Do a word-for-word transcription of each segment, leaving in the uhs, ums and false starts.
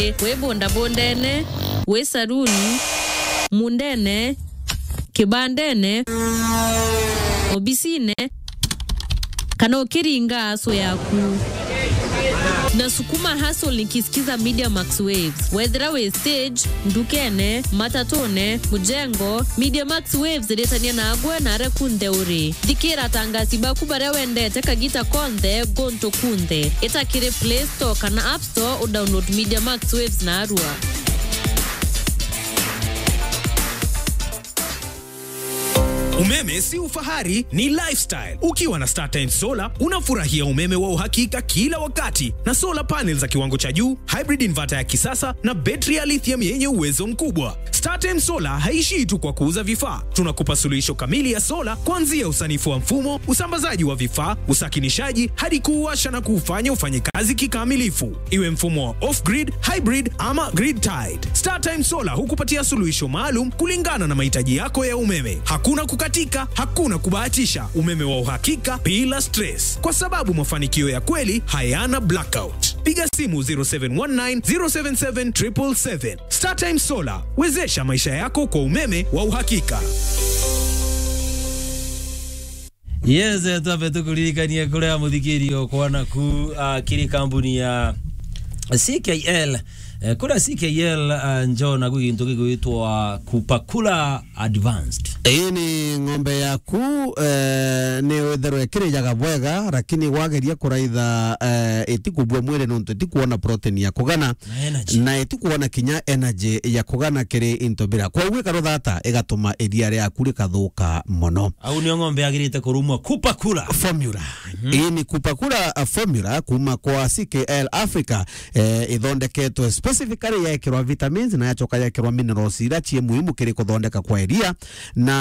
wi bundabundene, wi saruni, mundene, kibandene, obisine, kana ukiringa aso yaku. Na sukuma hustle nikisikiza Media Max Waves. Wethira wi stage, ndukene, matatune, mujengo, Media Max Waves iritania nagwe na aria kunthe uri. Thikira atangasi baku baria wendete kagita konthe, guntu kunthe. Ita kiri Play Store kana App Store u download Media Max Waves narua. Umeme si ufahari, ni lifestyle. Ukiwa na StarTimes Solar, unafurahia umeme wa uhakika kila wakati, na solar panels za kiwango cha juu, hybrid inverter ya kisasa, na betri ya lithium yenye uwezo mkubwa. StarTimes Solar haishii tu kwa kuuza vifaa. Tunakupa suluhisho kamili ya solar, kuanzia usanifu wa mfumo, usambazaji wa vifaa, usakinishaji, hadi kuuwasha na kuufanya ufanye kazi kikamilifu. Iwe mfumo wa off-grid, hybrid ama grid-tied, StarTimes Solar hukupatia suluhisho maalum kulingana na mahitaji yako ya umeme. Hakuna kukatika, hakuna kubahatisha, umeme wa uhakika bila stress, kwa sababu mafanikio ya kweli hayana blackout. Piga simu zero seven one nine, zero seven seven, triple seven. StarTimes Solar, wezesha maisha yako kwa umeme wa uhakika. Yes, eh, twambe tukuririkanie kuria muthikiri okwa naku, ah, kiri kambuni ya C K L. Eh, kuria C K L, ah, njo naku gintu gigwitwa Kupakula Advanced. Ii ni ng'ombe yaku, eh, ni witherwe ikirijaga bwega, lakini wageria kuraitha, eh, itikubua mwiri nontu itikuona protein ya kugana. Na energy. Na itikwona kinya energy ya kugana kiri into bira. Kwoguo ikaruthata igatuma iria riaku rikathuka mono. Au nio ng'ombe yagirite kurumwa Kupakula. Formula. Mhm. Ii ni Kupakula, uh, formula kuma kwa C K L Africa, eh, ithondeketwe specifically yekirwa vitamins na yacoka yekirwa minerals iria cie muhimu kiri kuthondeka kwa iria na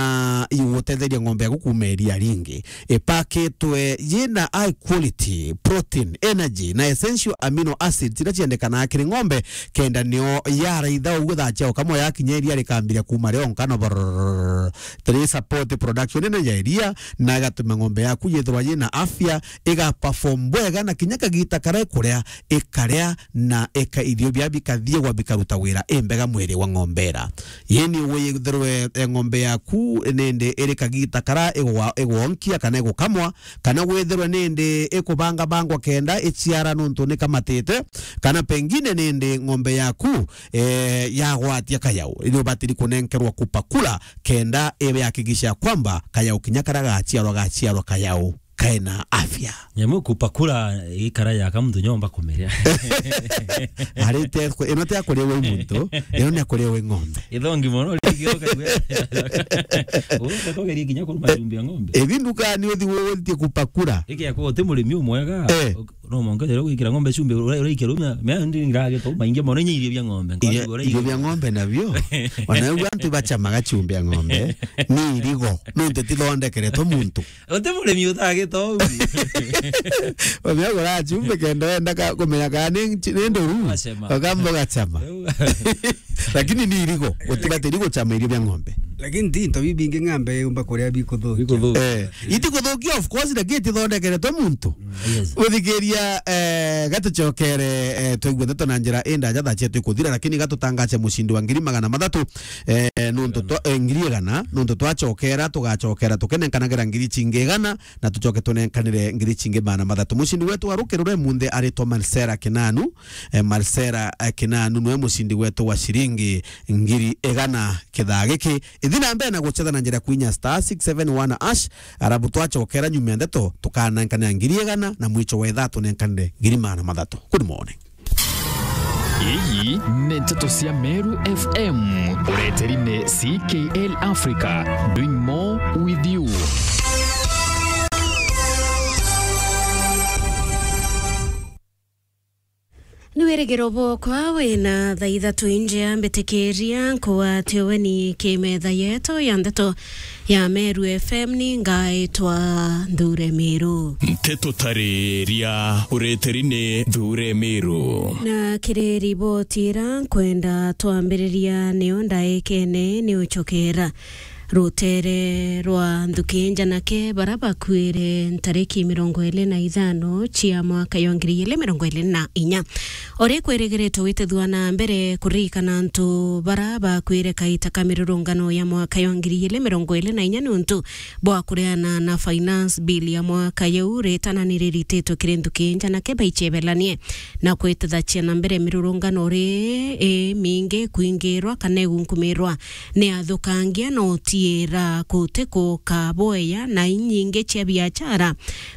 igutetheria ng'ombe yaku kuma iria ringi. Ipakitwe yina high quality protein, energy na essential amino acids iria ciendekanaga kiri ng'ombe, kenda nio yaraitha uguo thaa cia ukamwa yakinya iria rikambiria kuma rionka na brrrr, tiri support production nene ya iria na igatuma ng'ombe yaku yithirwa yina afya, iga perform bwega na kinya kagita karia ikuria ikaria na ika irio bia bikathiegwa bikaruta wira imbega mwiri wa ng'ombe ira. Yeni withirwe, eh, ng'ombe yaku nindi iri kagita kara igwa-, igwonkia kana igukamwa, kana withirwe nindi ikubangabangwa kenda iciara nontu nikamatite, kana pengine nindi ng'ombe yaku, eh, yagwatia kayau, ni ubatiri kunenkerwa Kupakula kenda ibe hakikisha kwamba kayau kinya kara gaciarwa, gaciarwa kayau kaina afya. Nyamu Kupakula ikara yaka muntu nyomba kumiria. Arite ku-, ino ti akuria wi muntu, ino ni akuria wi ng'ombe. Ithongi mono, rigi ukaigua. Uka kugeria kinya kuruma cumbia ng'ombe. Ithi nduka ni uthi withie Kupakula. Iki ya kuwa uti murimi umwega. Eh. No monke rero gwikira ng'ombe cumbia, ura-, uraikia rumia, mea ndi ngirage to maingi mono inya irio bia ng'ombe. Irio, irio bia ng'ombe nabio. Ona ugu antu bachamaga cumbia ng'ombe. Ni irigo. Nontu tithondekeretwe muntu. Uti murimi utagita uu. Wamenya gura chumbe kenda wenda ka-, kumenya kana ni nchi-, ni nduru. Wachema. Ukamba ugachama. Riu. Lakini ni irigo, utibatiri guchama irio bia ng'ombe. Lakini ti into bibingi ng'ombe yumba kuria bikuthukia. Bikuthukia. Eh, iti kuthukia, of course, lakini tithondekeretwe muntu. Yes. Uthikiria, eh, gatucokere, eh, twaigua ndeto na njira indaja thaa cietu ikuthira, lakini gatutangace mucindi wa ngiri magana mathatu, eh, nuntu twa-, eh, ngiri igana, nuntu twacokera, tugacokera tukenenkanagira ngiri cingi igana, na tucoke tunenkanire ngiri cingi magana mathatu. Mucindi wetu wa rukirure munthi aritwa Marcela Kinanu. Eh, Marcela, eh, Kinanu niwe mucindi wetu wa ciringi ngiri igana kithaa giki. Ithi na mbere na gucetha na njira kwinya star six seven one hash, arabu twacokera nyuma ya ndeto, tukanenkanira ngiri igana, na mwicho wa ithaa tunenkanire ngiri magana mathatu. Good morning. Iyi ni nteto cia Meru F M, ureteri ni C K L Africa, doing more with you. Ni wirigiro bwokwa wina thaa ithatu injea mbitikiria nkugwate ugeni ki metha yetu ya ndeto ya Meru F M, ni ngaitwa Nthure Miru. Nteto tariria ureteri ni Nthure Miru. Na kiri riboti ira nkwenda twambiriria niyo ndaikene ni ucokera. Rutere rwa nthuki njanake bara bakuire ntariki mirongo iri na ithano cia mwaka ya ngiri igiri mirongo iri na inya. Ori kwirigiritwe gwitithua na mbere kuririkana antu bara bakuire kaita ka mirurungano ya mwaka ya ngiri igiri mirongo iri na inya niuntu bwa kureana na finance bill ya mwaka yau, ritana ni rirititwe kiri nthuki njanake baichebelanie na kwitithacia na mbere mirurungano ri imingi kwingirwa kana igunkumirwa ni athukangia na utiira kuti kukaboeya na inyingi cia biachara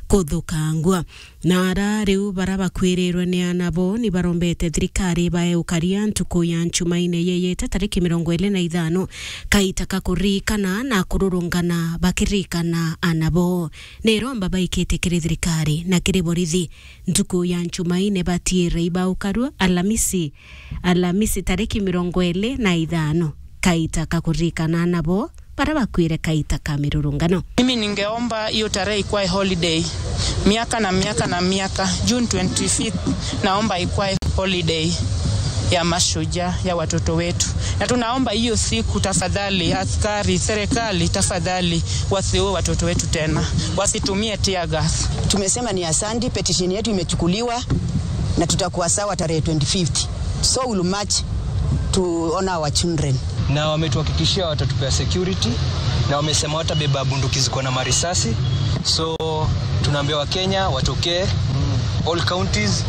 kuthukangua. Na ara riu bara bakwirirwe ni ana bo ni barombete thirikari bae ukaria ntuku ya Nchumaine yeyete tariki mirongo iri na ithano kaita ka kuririkana na kururungana bakiririkana ana bo. Ni iromba baikite kiri thirikari na kiri borithi ntuku ya Nchumaine batiire ibaukarua Alamisi, Alamisi tariki mirongo iri na ithano kaita ka kuririkana ana bo bara bakwire kaita ka mirurungano. Mimi ningeomba hiyo tarehe ikwae holiday miaka na miaka na miaka. June twenty-fifth, naomba ikwae holiday ya mashujaa, ya watoto wetu, na tunaomba hiyo siku, tafadhali, askari, serikali, tafadhali, wasiue watoto wetu tena, wasitumie tear gas. Tumesema ni asante, petition yetu imechukuliwa na tutakuwa sawa tarehe twenty-fifth. So we'll march to honor our children. Na wametuhakikishia watatupea security, na wamesema watabeba bunduki ziko na marisasi. So tunaambia Wakenya watokee, all counties.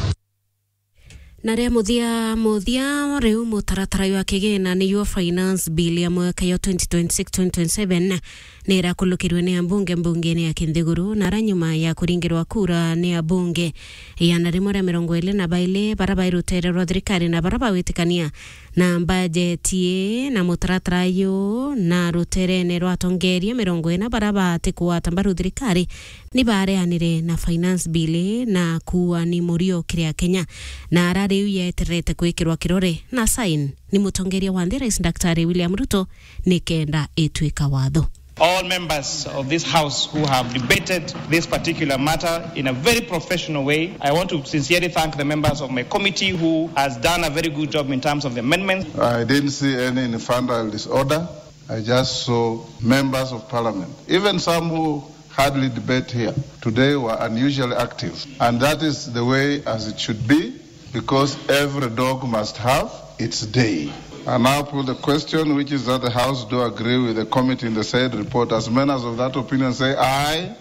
Na ria muthia muthia, riu mutaratara jwa kigina niyo finance bill ya mwaka ya twenty twenty-six twenty twenty-seven ni irakulukirwe ni ambunge mbungene ya Kinthiguru, na ara nyuma ya kuringirwa kura ni abunge igana rimwe ria mirongo iri na bairi bara bai rutere rwa thirikari na bara bawitikania na mbajeti ii na mutaratara uyu na ruterene rwa atongeria mirongo ina bara bati kugwata mbaru thirikari ni bareanire na finance bill na kuua ni murio kiri Akenya, na ara riu yeterete gwikirwa kirore na sign ni mutongeria wa nthi, Rais Daktari William Ruto, nikenda itwika watho. All members of this House who have debated this particular matter in a very professional way, I want to sincerely thank the members of my committee who has done a very good job in terms of the amendments. I didn't see any infantile disorder. I just saw members of parliament, even some who hardly debate here today, were unusually active. And that is the way as it should be, because every dog must have its day. I now put the question, which is that the House do agree with the committee in the said report. As many as of that opinion say aye.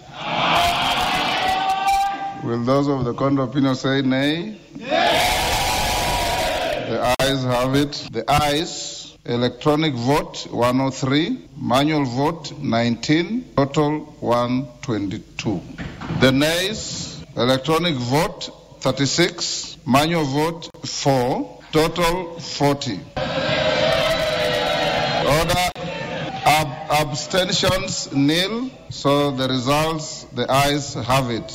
Will those of the contrary opinion say nay? The ayes have it. The ayes, electronic vote one oh three, manual vote nineteen, total one twenty-two. The nays, electronic vote thirty-six, manual vote four, total forty. Order, ab- abstentions nil, so the results, the ayes have it.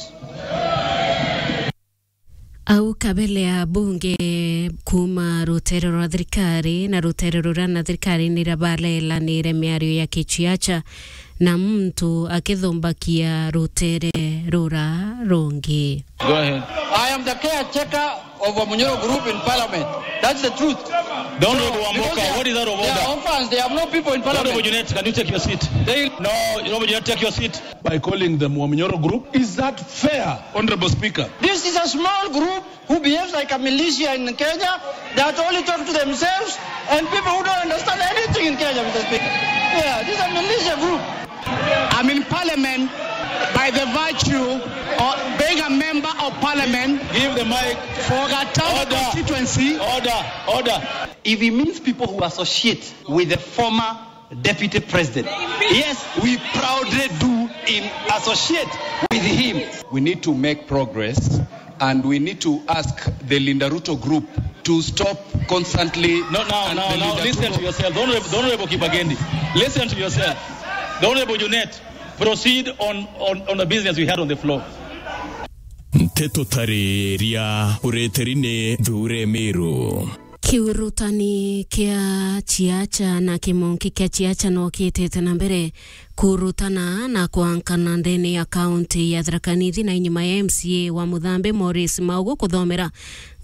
Au kabele ya bunge kuma rutere rwa thirikari na rutere ruria na thirikari nira barelanire miario ya kichiacha na muntu akithumbakia rutere rura rungi. Go ahead. I am the caretaker of Wamunyoro group in parliament. That's the truth. Don't Wamboka, what is out of order? They are orphans. They have no people in parliament. Honorable Junet, can you take your seat? They No, Honorable Junet, take your seat. By calling them Wamunyoro group. Is that fair, Honorable Speaker? This is a small group who behaves like a militia in Kenya that only talk to themselves and people who don't understand anything in Kenya, Mister Speaker. Yeah, this is a militia group. I'm in parliament by the virtue of being a member of parliament. Give the mic. For Gatanga Order. Constituency. Order, order. If he means people who associate with the former Deputy President. Yes, we proudly do in associate with him. We need to make progress and we need to ask the Linda Ruto group to stop constantly. No, now, and now, the now, Linda listen Ruto to yourself. The Honorable, the Honorable Kibagendi, listen to yourself. The Honorable Junet, proceed on, on, on the business we had on the floor. Nteto tariria ureteri ni Thure Miru. Kiurutani kia Chiacha na kimonki kia Chiacha no kiitite na mbere kurutana na kwankana ndene ya kaunti ya Tharaka Nithi na inyuma ya M C A wa Muthambi Morris Maugu kuthomera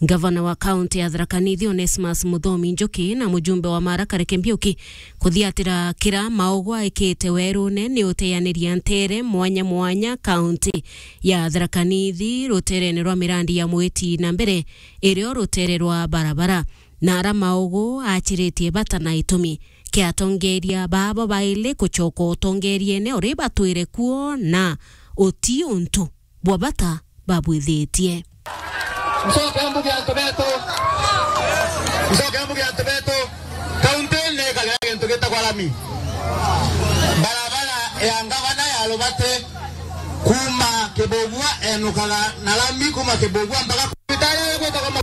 Ngavana wa kaunti ya Tharaka Nithi Onesmus Muthomi Njuki na mujumbe wa Mara Kareke Mbiuki kuthiatira kira maogo aikite werune ni uteaniria ntere mwanya mwanya kaunti ya Tharaka Nithi ruterene rwa mirandi ya mwiti na mbere irio rutere rwa barabara. Na ara maogo achiritie bata na itumi kia atongeria babo baili kucoka utongeriene uri batwire kuo na uti untu bwa bata babwithitie. Ncoke mbuge antu betu, ncoke mbuge antu betu, kaunti ni ikagira gintu gitagwa rami. Barabara ya ngavana ya Rubati kuma Kibugua enukaga na rami kuma Kibugua mpaka kubitari gwitagwa Ma-,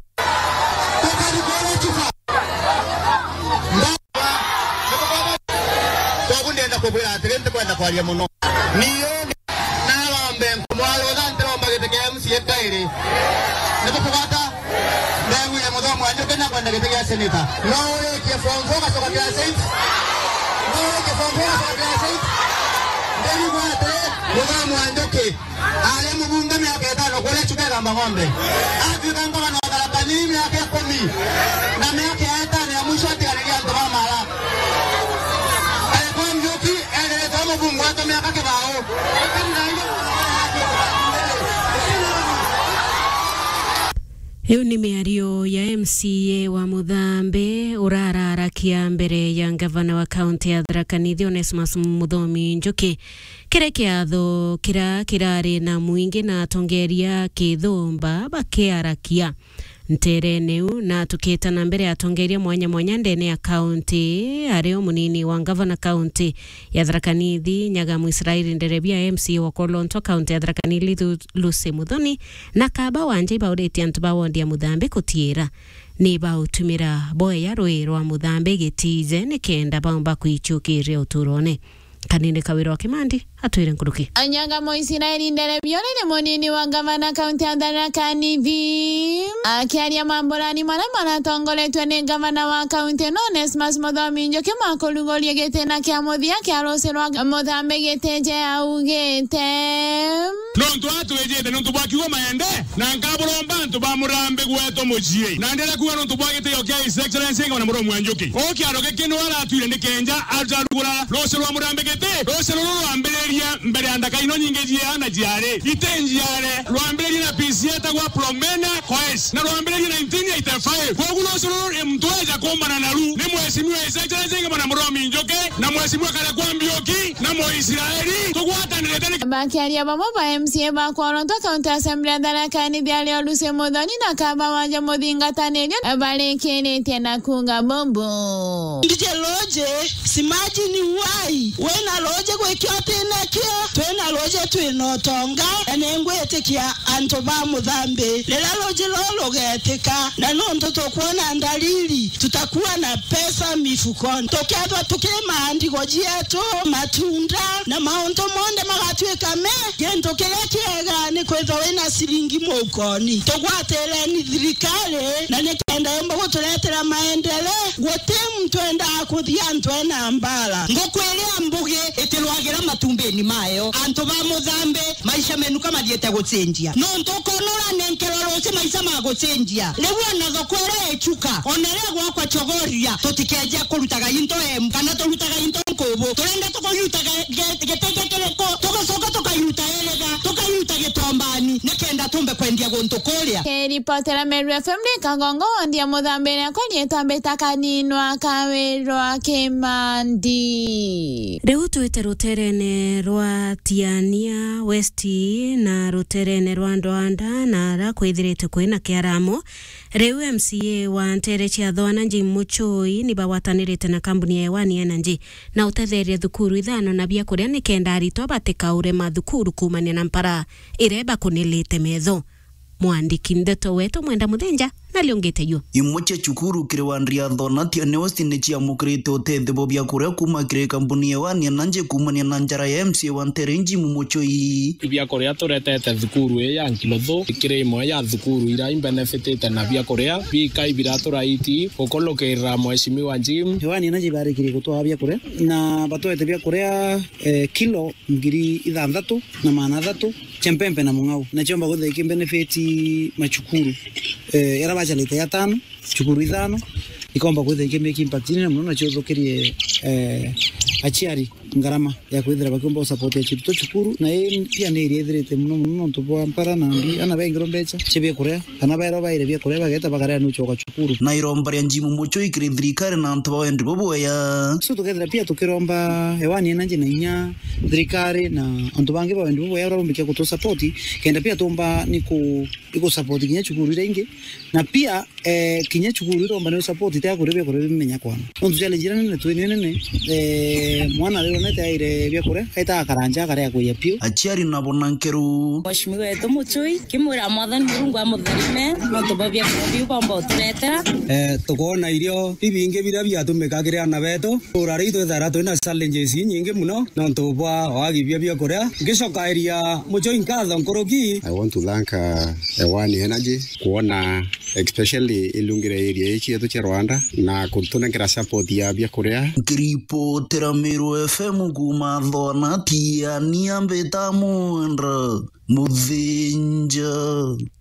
Tukari kore chuka. Koguo ndienda kubwira atiri, ntikwenda kwaria muno. Niyo narombe nkumwarutha, ntiromba giti kia M C A kairi. Nibukugwata? Ndegwire Muthomi wa Njuki nakwenda giti kia senator. No urikie form four ugacoka class eight? No urikie form four ugacoka class eight? Ndirigwa atiri, Muthomi wa Njuki Ari mubunge miaka itano kuria Chuka Igamba Ng'ombe. Atuika ngavana wa Tharaka Nithi miaka ikumi. Na miaka ya itano ya mwisho atiganirie antu ba Mara. Arikwa Njuki, enderetwe mubunge wetu miaka kibao. Iu ni miario ya M C A wa Muthambe urararakia mbere ya ngavana wa kaunti ya Tharaka Nithi Onesmus Muthomi Njuki. Kiri kiatho kiria kirari na mwingi na atongeria kithumba bakiarakia nterene iu, na tukita na mbere atongeria mwanya mwanya ndene ya kaunti, ario munini wa ngavana kaunti ya Tharaka Nithi, Nyagamu Israeli Nderebia, M C A wa Kolonto kaunti ya Tharaka Nithi, Lu-, Lucy Muthoni, na kaba wanja ibauritie antu ba wondi ya Muthambi kutiira ni bautumira boya rui rwa Muthambi gitije nikenda baumba kwichukiria uturone. Kanini Kawira wa Kimandi atwire nkuruki. Anyaga Moisiraeli Nderebia uria ni munini wa ngavana kaunti ya Tharaka Nithi. Akiaria mamburani maria maratongoretwe ni ngavana wa kaunti ino Onesmus Muthomi Njuki ma kuruguria gitina kia muthia kia ruci rwa Muthambi gitije augite. Nontu atwijite nontu bwa kiugo maende, na nkaburomba antu ba Murambi gwetu mucii. Na ndira kuuga nontu bwa gitio kia His Excellency Ngavana Muthomi wa Njuki. Uu kiaro giki niwe aratwire ni kenja arugura ruci rwa Murambi giti. Ruci ruru rwambiririe mbere ya ndaka ino nyingi ciaana ciari. Iti njiare, rwambiririe na P C etagwa Promena Koech, na rwambiririe nineteen eighty-five. Kwogu ruci ruru muntu eja kumbana naru ni Mheshimiwa His Excellency Ngavana Muthomi Njuki, na Mheshimiwa Karekwa Mbiuki, na Muisraeli, tugwatanirite ni. Bakiaria bamwe ba M C A ba Kolonto County Assembly ya Tharaka Nithi ario Lucy Muthoni na kaba wanja muthingatanirio barikiritie na kuuga bubu. Ndije roje, imagine why? Wina roje gwikio utina kio, twina roje twina utonga, na ningwitikia antu ba Muthambi. Riria roje ruru rugetika, na nontu tukwona ndariri, tutakuwa na pesa mifukoni. Tukethwa tukirima ndigo cietu, matunda, na mauntu monthe magatuika me, gintu kiria kiega ni kwithwa wina ciringi mukoni. Tugwatireni thirikari, na nikenda yumba guturetera maendeleo. Guti muntu endaa kuthia antu ena mbara. Nguku iria mbugi itirwagira matumbini mayo. Antu ba Muthambi, maisha menu kamathiite gucenjia. Nontu ukoona uranenkerwa ruci maisha magucenjia. Riu ona thoko iria ichuka, ona iria gwakwa chogoria, tutikeeja kurutaga into emu, kana turutaga into nkubu. Turenda tukayutaga ge-, gitenge kiriku, tugacoka tukayuta iriga, tukayuta gitombani, nikenda tumbe kwendia guntu kuria. Kiripotera Meru F M ni Kagongo, wondi ya Muthambi, na kwa riitwa mbita Kaninwa Kawirwa Kimandi. Riu twite ruterene rwa Tiania West na ruterene rwa Ndwanda, na ara kwithirite kwina kiaramo. Riu M C A wa ntere cia Thwana Jim Muchoi ni bagwatanirite na kambuni ya Ewani Energy na utetheria thukuru ithano na biakuria nikenda aritwa batikaure mathukuru kuumania na mpara iria ibakunilite metho. Mwandiki ndeto wetu Mwenda Muthenja nariongete yu. Imwe cia cukuru kiri wandi ya Thona Tiania West ni ciamukirite utethio bwa biakuria kuuma kiri kambuni ya Ewani Energy kuumania na njara ya M C A wa ntere Jim Muchoi. Biakuria turetete thukuru ii ya Nkilothu, ikiri imwe ya thukuru iria imbenefitite na biakuria bikai biraturaitie gukulukirira Mheshimiwa Jim. Ewani Energy ibarikirie gutwaa biakuria, na batwete biakuria, eh, kilo ngiri ithanthatu na magana athatu, Cia mpempe na mung'au, na ciomba kwithira ikimbenefit macukuru, eh, aria bacalite ya tano, cukuru ithano, ikomba kwithira ikimake impact nene mono, na ciuthukirie, eh, aciari ngarama ya kwithira bakiumba gusupport aciari to cukuru, na ii pia ni iria ithirite mono mono nontu bwa mpara na mbi, ana baingirwa mbeca cia biakuria, kana baerwa baire biakuria bageta bakaria nuchoka cukuru. Na iromba ria Jim Muchoi kiri thirikari na antu ba wendi bubwea. So tukethira pia tukiromba ewani energy na inya thirikari na antu bangi ba wendi bubwea urarombikia kutu support, kenda pia tumba ni ku, ni ku support kinya cukuru iria ingi, na pia, eh, kinya cukuru iromba ni support tia kuria biakuria bimenya kwana. Nontu challenge iria nene twi ni nene, eh, mwana riu nete aire biakuria, aita akaranja akaria kuya piu. Aciari nabo na nkeru. Mheshimiwa wetu Muchoi, kimwira Mwathani Murungu amutharime, nontu bwa biakuria biu bomba uturetera. Eh, tukoona irio bibingi biria biatumika kiri ana betu. Tura riu twithara twina challenges inyingi mono, nontu bwa wagi bia biakuria. Ngicokairia Muchoi nkatho nkuruki. I want to thank, uh, Ewani Energy, kwona especially ilungire area ii cietu cia Rwanda na kutunenkera support ya biakuria. Nkiripotera Meru F M kuuma Thonati, ania mbita Mwendra Muthinja.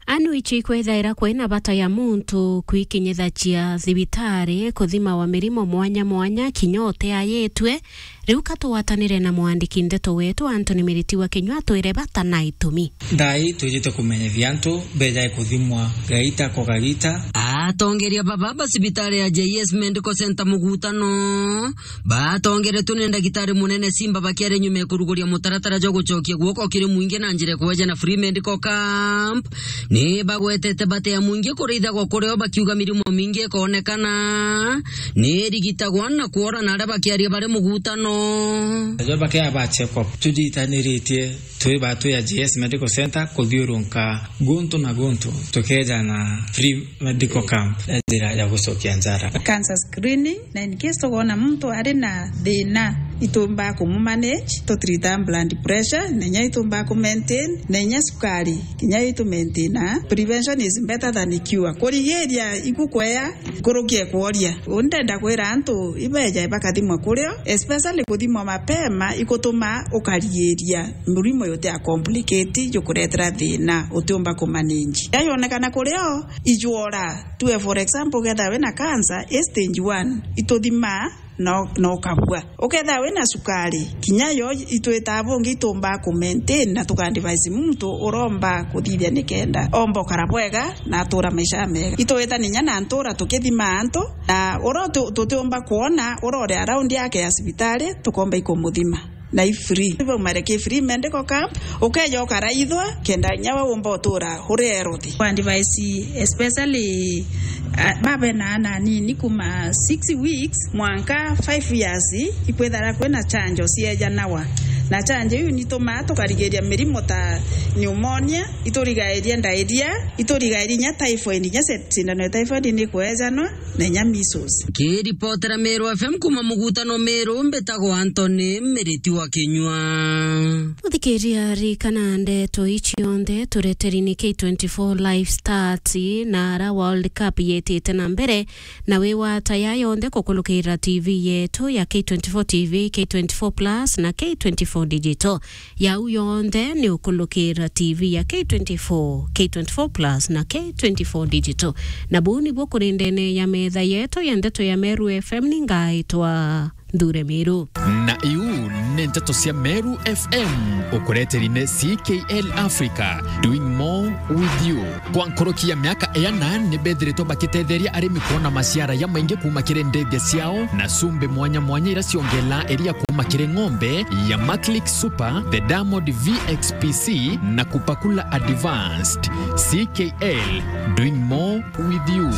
Anu ici ikwethaira kwina bata ya muntu kwikinyithacia thibitari kuthimawa mirimo mwanya mwanya kinya uteayitwe. Riu ka tugwatanire na mwandiki ndeto wetu Anthony Miriti wa Kinyua atwire bata na itumi. Thaa ii twijite kumenyithia antu bejae kuthimwa gaita kwa gagiita. Atongeria baba ba cibitari ya J S Medical Center Mugutano batongeretwe ni ndagitari munene Simba bakiaria nyuma ya kuruguria mutaratara jwa gucokia guoko kiri mwingi na njira ya kueja na free medical camp. Ni bagwetete bata ya mwingi kurithagwa kurio bakiuga mirimo mingi ikoonekana ni irigitagwa na kwora na aria bakiaria bari mugutano. Ajo bakea ba check up tujitaniritie twi batwi ya J S Medical Center kuthiurunka guntu na guntu tukeja na free medical camp ya njira ya gucokia njara. Cancer screening, na in case tukoona muntu ari na thina, itumbaa kumumanage, tutrita blood pressure, na inya itumbaa kumaintain, na inya sukari, kinya itumaintaina. Prevention is better than cure. Kurigiria igukwea nkuruki ya kworia. Uu ndenda kwira antu ibeja bakathimwa kurio, especially kuthimwa mapema ikutuma ukarigiria murimo yuti a complicate jukuretera thina utiumba kumanage. Yayonekana kurio, ijwora. Tuwe for example, ukethira wina cancer, i stage one, ituthimaa na, na ukabua. Ukethira wina sukari, kinya yo itwitaa bungi itumbaa ku maintain na tuka advise muntu uromba kuthithia nikenda omba ukara bwega na atura maisha mega. Itwita ninya na ntura tukithimaa antu, na uria tu-, tutiumba kwona uria uri around yake ya cibitari, tukomba ikumuthima. Na i free. Baumare ki free medical camp, ukeja ukaraithwa, kenda inya we umba utura uri healthy. Kwa advice, especially, ah, babe na ana anini kuma six weeks mwanka five years, ikwithara kwina chanjo ciejanawa. Na chanjo iu nitumaa tukarigiria mirimo ta pneumonia, iturigairia diarrhea, iturigairia inya typhoid, inya se-, sindano ya typhoid nikwejanwa. Na inya measles. Nkiripotera Meru F M kuma mugutano Meru, mbitagwa Anthony Miriti wa Kinyua. Uthikiria, ririkana ndeto ici cionthe tureteri ni K twenty-four Live Stats na ara World Cup yetite na mbere, na wi wa taya yonthe kukulukira T V yetu ya K twenty-four T V, K twenty-four Plus na K twenty-four Digital. Yau yonthe ni ukulukira T V ya K twenty-four, K twenty-four Plus na K twenty-four Digital. Na buu nibuo kuri ndene ya metha yetu ya ndeto ya Meru F M, ni ngaitwa Nthure Miru. Na iu ni nteto cia Meru F M, ukureteri ni C K L Africa, doing more with you. Kwa nkuruki ya miaka iana, ni bethiritwe bakitetheria arimi kwona maciara jamaingi kuuma kiri ndithia ciao na cumbi mwanya mwanya iria ciongelaa iria kuuma kiri ng'ombe ya Maclick Super, the Diamond V X P C na Kupakula Advanced. C K L, doing more with you.